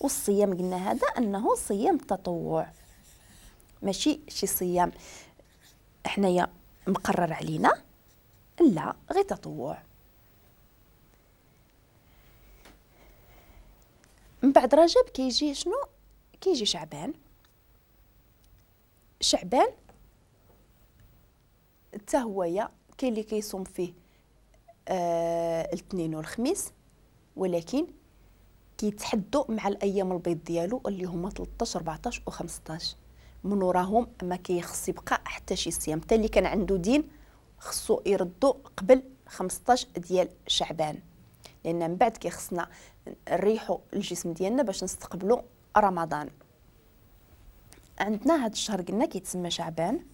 والصيام قلنا هذا انه صيام تطوع، ماشي شي صيام حنايا مقرر علينا، لا غير تطوع. من بعد رجب كيجي شنو؟ كيجي شعبان. شعبان حتى هويا كاين اللي كيصوم فيه الاثنين والخميس، ولكن كيتحدوا مع الايام البيض ديالو اللي هما 13 14 و15. من وراهم ما كيخص يبقى حتى شي صيام، حتى اللي كان عنده دين خصو يردو قبل 15 ديال شعبان، لان من بعد كيخصنا نريحوا الجسم ديالنا باش نستقبلوا رمضان. عندنا هذا الشهر قلنا كيتسمى شعبان.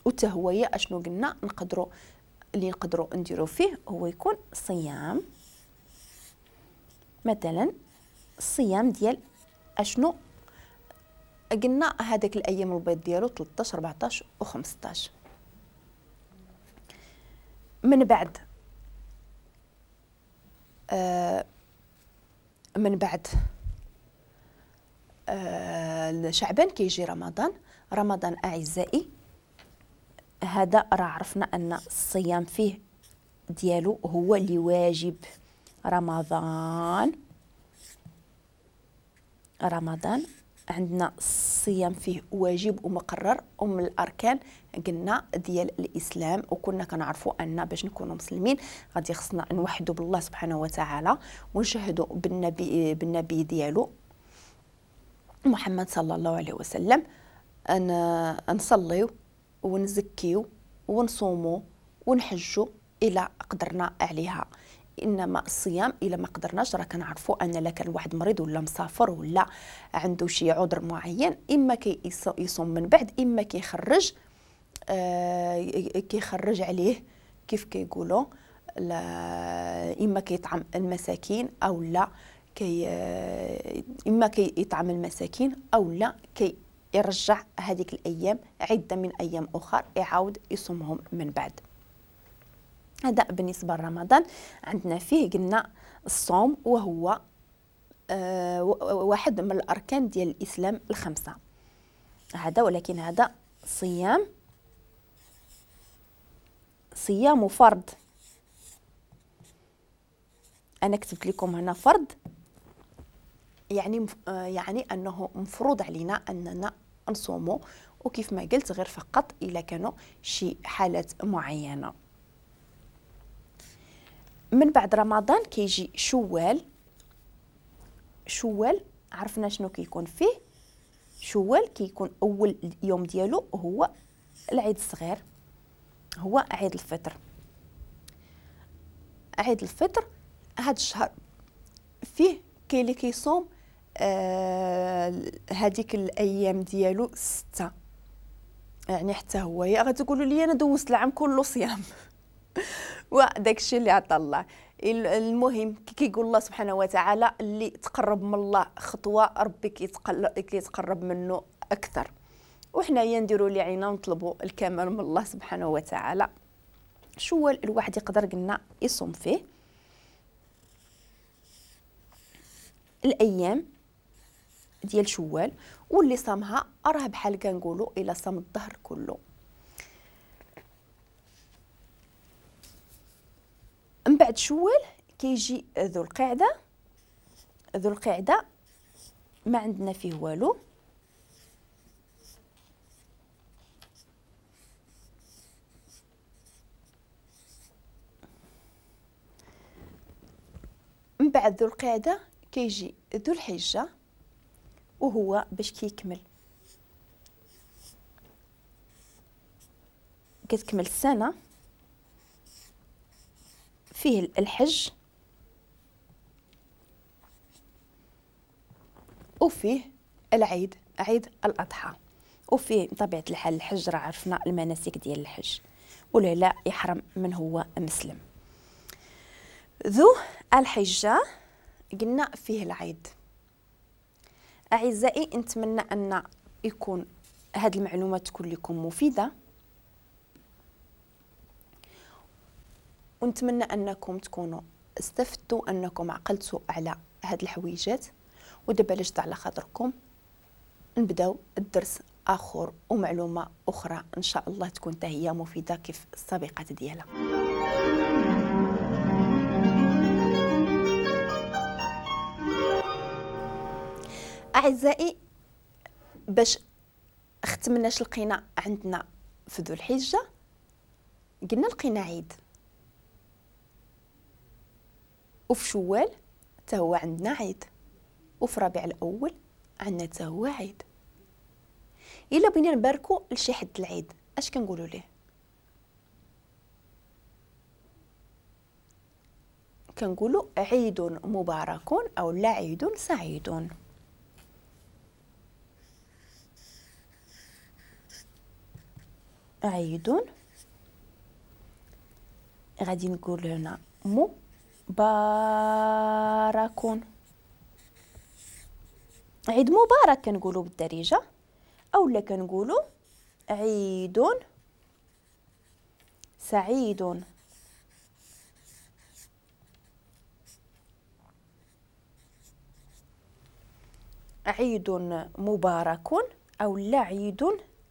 وتا هويا اشنو قلنا نقدروا اللي نقدروا نديروا فيه هو يكون صيام، مثلا الصيام ديال اشنو قلنا هذاك الايام البيض ديالو 13 14 و15. من بعد شعبان كيجي رمضان. رمضان اعزائي هذا راه عرفنا ان الصيام فيه ديالو هو اللي واجب. رمضان عندنا الصيام فيه واجب ومقرر ومن الاركان قلنا ديال الاسلام، وكنا كنعرفوا ان باش نكونوا مسلمين غادي خصنا نوحدوا بالله سبحانه وتعالى ونشهدوا بالنبي ديالو محمد صلى الله عليه وسلم، ان نصليو ونزكيو ونصوموا ونحجوا الى قدرنا عليها. انما الصيام الا ما قدرناش راه كنعرفوا ان لا كان واحد مريض ولا مسافر ولا عنده شي عذر معين، اما كيصوم من بعد، اما كيخرج كيخرج عليه كيف كيقولوا، اما كيطعم المساكين او لا اما كيطعم المساكين او لا كي يرجع هذيك الايام عده من ايام اخرى يعاود يصومهم من بعد. هذا بالنسبة لرمضان. عندنا فيه قلنا الصوم وهو واحد من الاركان ديال الاسلام الخمسة هذا، ولكن هذا صيام فرض. انا كتبت لكم هنا فرض، يعني انه مفروض علينا اننا نصومو، وكيف ما قلت غير فقط الا كانوا شي حالات معينة. من بعد رمضان كيجي شوال. شوال عرفنا شنو كيكون فيه. شوال كيكون اول يوم ديالو هو العيد الصغير، هو عيد الفطر. عيد الفطر هذا الشهر فيه كاين اللي كيصوم هذيك الايام ديالو 6، يعني حتى هو غتقولوا لي انا دوزت العام كله صيام وداك الشيء اللي عطى الله. المهم كيقول الله سبحانه وتعالى اللي تقرب من الله خطوة ربي كيتقرب منه اكثر، وحنايا نديروا اللي عينا ونطلبوا الكمال من الله سبحانه وتعالى. شو الواحد يقدر قلنا يصوم فيه الايام ديال شوال، واللي صامها راه بحال كنقولوا الا صام الظهر كله. من بعد شوال كيجي ذو القعدة. ذو القعدة ما عندنا فيه والو، من بعد ذو القعدة كيجي ذو الحجة، وهو باش كيكمل كتكمل السنة فيه الحج وفيه العيد، عيد الأضحى، وفيه بطبيعة الحال الحج راه عرفنا المناسك ديال الحج، ولا لا يحرم من هو مسلم. ذو الحجة قلنا فيه العيد. أعزائي نتمنى أن يكون هذه المعلومات تكون لكم مفيدة، ونتمنى انكم تكونوا استفدتوا، انكم عقلتوا على هاد الحويجات. ودابا علاش على خاطركم نبداو الدرس اخر ومعلومه اخرى ان شاء الله تكون حتى هي مفيدة كيف السابقات ديالها. اعزائي، باش ختمناش لقينا عندنا في ذو الحجة، قلنا لقينا عيد، وفي شوال حتى هو عندنا عيد، وفي ربيع الاول عندنا حتى هو عيد. الا بغينا نباركو لشي حد العيد اش كنقولوا ليه؟ كنقولوا عيد مبارك او لا عيد سعيد. عيد غادي نقول هنا مبارك، عيد مبارك كنقولوا بالدارجة، او لا كنقولوا عيد سعيد. عيد مبارك او لا عيد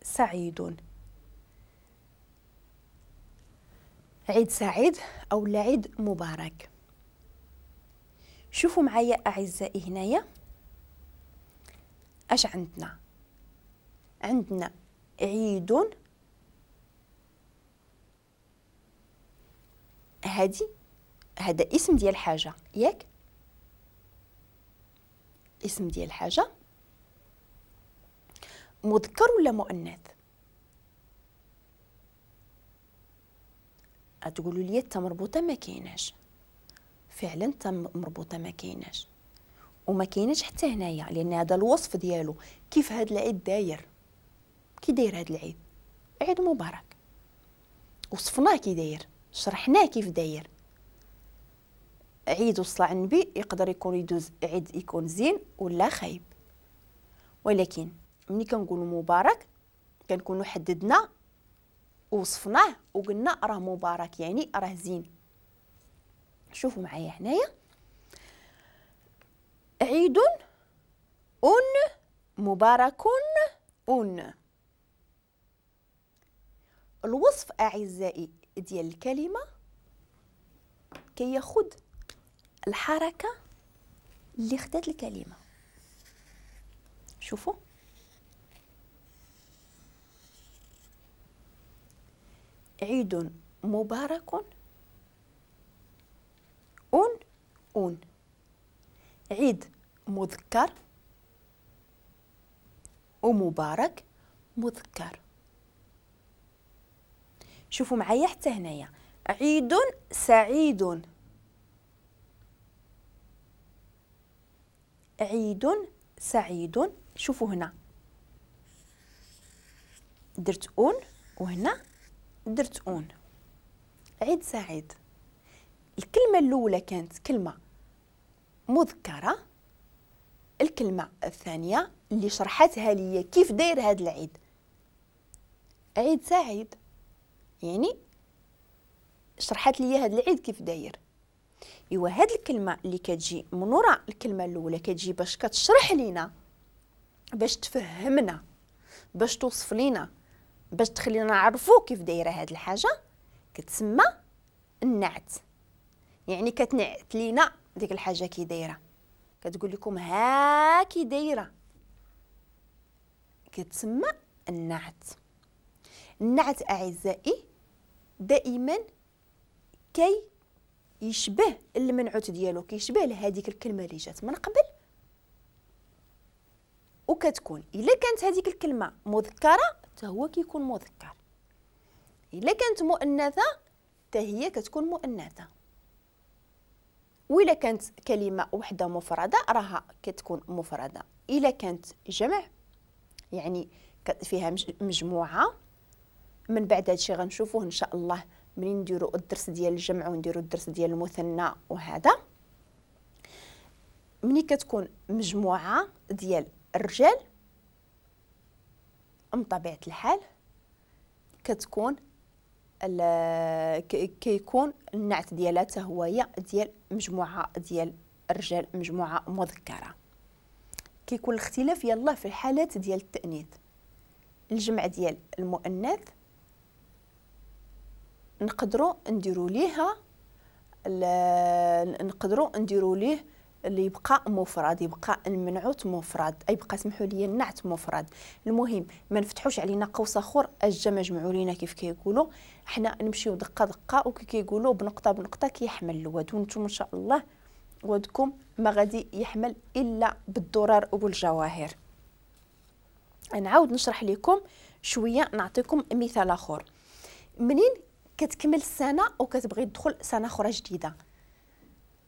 سعيد، عيد سعيد او لا عيد مبارك. شوفوا معايا اعزائي هنايا اش عندنا. عندنا عيد، هادي هذا اسم ديال حاجة، ياك؟ اسم ديال حاجة مذكر ولا مؤنث؟ تقولوا لي التا مربوطة ما كايناش. فعلا التا مربوطة ما كايناش، وما كايناش حتى هنايا، لان هذا الوصف ديالو كيف هذا العيد داير، كي داير هذا العيد، عيد مبارك، وصفناه كي داير، شرحناه كيف داير. عيد وصلى على النبي يقدر يكون يدوز عيد يكون زين ولا خايب، ولكن ملي كنقولوا مبارك كنكونوا حددنا وصفناه وقلنا راه مبارك، يعني راه زين. شوفوا معايا هنايا عيد ان مبارك ان. الوصف اعزائي ديال الكلمة كياخد الحركة اللي خدات الكلمة. شوفوا عيد مبارك أون أون، عيد مذكر ومبارك مذكر. شوفوا معايا حتى هنايا عيد سعيد، عيد سعيد. شوفوا هنا درت أون وهنا درت أون، عيد سعيد. الكلمة الأولى كانت كلمة مذكرة، الكلمة الثانية اللي شرحتها لي كيف داير هذا العيد، عيد سعيد، يعني شرحت لي هذا العيد كيف داير. ايوا هاد الكلمة اللي كتجي من وراء الكلمة الأولى كتجي باش كتشرح لينا، باش تفهمنا، باش توصف لينا، باش تخلينا نعرفو كيف دايرة هاد الحاجة، كتسمى النعت. يعني كتنعت لينا ديك الحاجة كي دايرة، كتقول لكم ها كي دايرة، كتسمى النعت. النعت اعزائي دائما كي يشبه المنعوت ديالو، كيشبه لهذيك الكلمة اللي جات من قبل، وكتكون الا كانت هذيك الكلمة مذكره حتى هو كيكون مذكر، الا كانت مؤنثة حتى هي كتكون مؤنثة، وإلا كانت كلمة وحده مفرده راها كتكون مفرده، الا كانت جمع يعني فيها مجموعة. من بعد هادشي غنشوفوه ان شاء الله منين نديرو الدرس ديال الجمع ونديرو الدرس ديال المثنى. وهذا ملي كتكون مجموعة ديال الرجال من طبيعة الحال كتكون كيكون النعت ديالها حتى هو ديال مجموعة ديال الرجال، مجموعة مذكره. كيكون الاختلاف يلا في الحالات ديال التانيث. الجمع ديال المؤنث نقدروا نديروا ليها نقدروا نديروا ليه اللي يبقى مفرد، يبقى المنعوت مفرد، اي يبقى سمحوا لي النعت مفرد. المهم ما نفتحوش علينا قوس اخر اجا مجموعوا لينا كيف كيقولوا، حنا نمشيو دقه دقه وكي كيقولوا بنقطة بنقطة كيحمل الواد، وانتم ان شاء الله ودكم ما غادي يحمل الا بالدرر وبالجواهر. نعاود نشرح لكم شوية، نعطيكم مثال اخر. منين كتكمل السنة وكتبغي تدخل سنة اخرى جديدة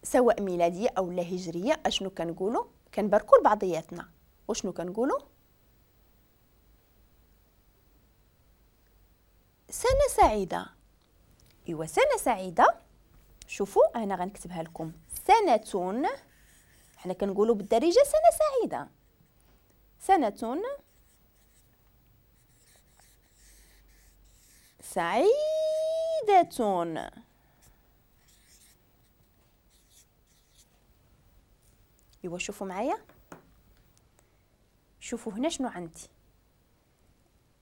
سواء ميلادية او لا هجرية، اشنو كنقولوا؟ كنباركوا لبعضياتنا. وشنو كنقولوا؟ سنة سعيدة. ايوا سنة سعيدة، شوفوا انا غنكتبها لكم سنة، حنا كنقولوا بالدارجة سنة سعيدة، سنة سعيدة. ايوا شوفوا معايا، شوفوا هنا شنو عندي.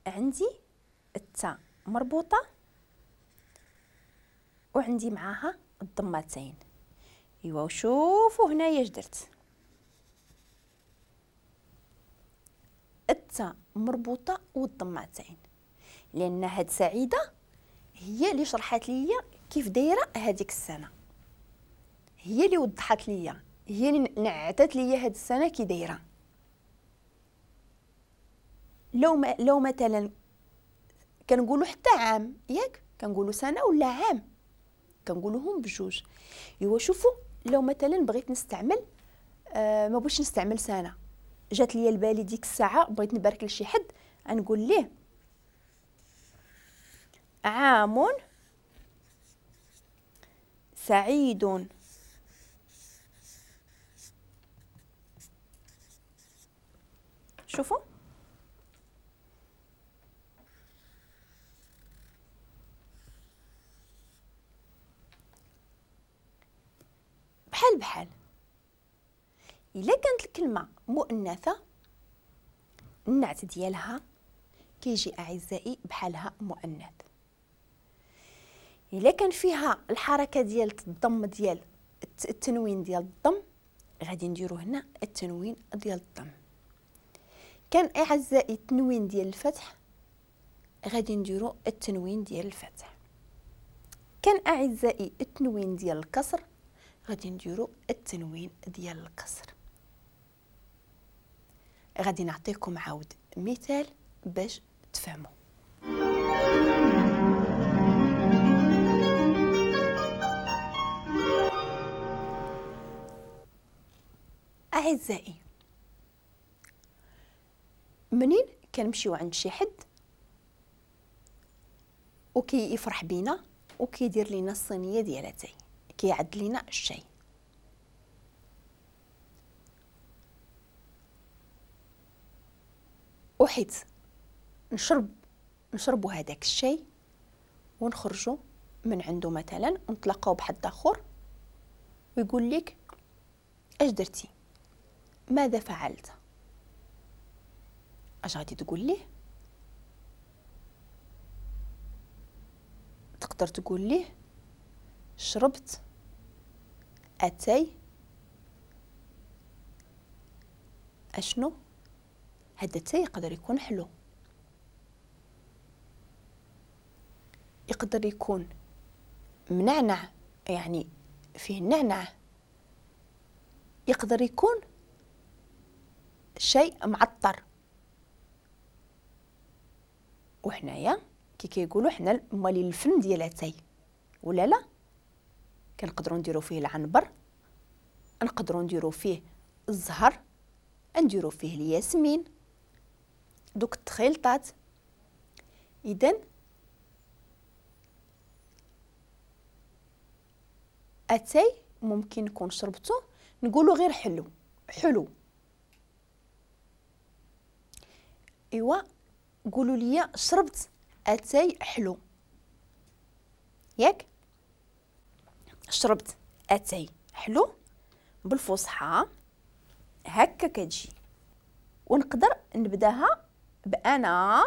عندي التاء مربوطة وعندي معاها الضمتين. ايوا وشوفوا هنايا اش درت، التاء مربوطة والضمتين، لان هاد سعيدة هي اللي شرحت ليا كيف دايرة هذيك السنة، هي اللي وضحت ليا، هي اللي نعتت ليا هاد السنة كي دايرة. لو مثلا كنقولوا حتى عام، ياك كنقولوا سنة ولا عام، كنقولوهم بجوج. ايوا شوفوا لو مثلا بغيت نستعمل ما بغيتش نستعمل سنة، جات ليا البالي ديك الساعة بغيت نبارك لشي حد، غنقول ليه عام سعيد. شوفوا بحال بحال. الا كانت الكلمة مؤنثة النعت ديالها كيجي اعزائي بحالها مؤنث. الا كان فيها الحركة ديال الضم ديال التنوين ديال الضم غادي نديرو هنا التنوين ديال الضم. كان اعزائي التنوين ديال الفتح غادي نديرو التنوين ديال الفتح. كان اعزائي التنوين ديال الكسر غادي نديرو التنوين ديال الكسر. غادي نعطيكم عاود مثال باش تفهموا. اعزائي منين كنمشيو عند شي حد وكي يفرح بينا وكيدير لينا الصينية ديال اتاي، كيعد لينا الشاي، وحيت نشربوا هذاك الشاي ونخرجوا من عنده مثلا ونتلاقاو بحد اخر ويقول لك اش درتي، ماذا فعلت، اش غادي تقول ليه؟ تقدر تقول ليه شربت اتاي اشنو؟ هذا التاي يقدر يكون حلو، يقدر يكون منعنع يعني فيه النعناع، يقدر يكون شيء معطر. وحنايا كي كيقولوا حنا مالي الفن ديال اتاي ولا لا، كنقدروا نديروا فيه العنبر، نقدروا نديروا فيه الزهر، نديروا فيه الياسمين، دوك التخيلطات. اذا اتاي ممكن نكون شربته نقولوا غير حلو حلو. ايوا قولوا لي شربت اتاي حلو، ياك؟ شربت اتاي حلو بالفصحى هكا كتجي، ونقدر نبداها بانا.